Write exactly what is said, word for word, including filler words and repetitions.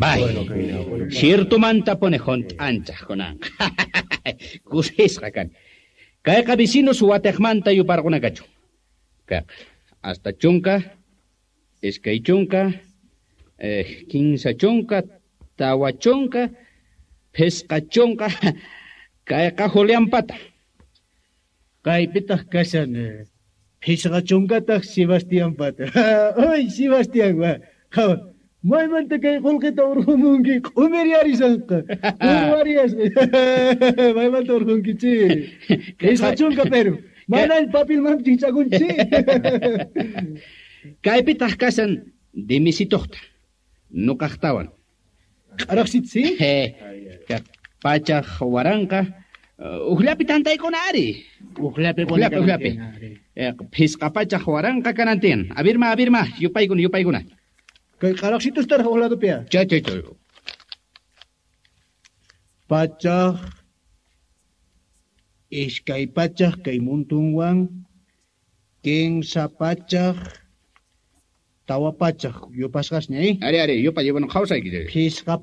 Bai, ciertomanta pone hunt'anchaq kunanqa. Kusisqa kani. Kayqa vecinos watiqmanta yuparquna kachun. Kayqa hasta chunka, iskay chunka, eh, kinsa chunka, tawa chunka, phisqa chunka, kayqa Julianpata. Kaypitaq kashan phisqa chunkataq Sebastianpata. Ay, Sebastián, wa. Qhawa, maymanta kay qullqita urqumunki q'umiryarishanqa. Urwariyasqa. Maymanta urqunki chi. Phisqa chunka pero. Mana papilmanpis hich'akunchi. Kaypitaq kashan Demisitoqta, nuqaqtawan. Q'araqsitsi? Pachaq waranqa, uqllapi tantaykuna ari. Uqllapi Uqllapi, uqllapi. Phisqa pachaq waranqa kanan tiyan. Abirma, abirma, yupaykuna, yupaykuna. Kay q'araqsitustaraq uq ladopiya. Chay, chay, chay. Pachaq, iskay pachaq kay muntunwan, kinsa pachaq, tawa pachaq yupasqasña, eh? Ari, ari, yupay, bueno, qhawsayki. Phisqa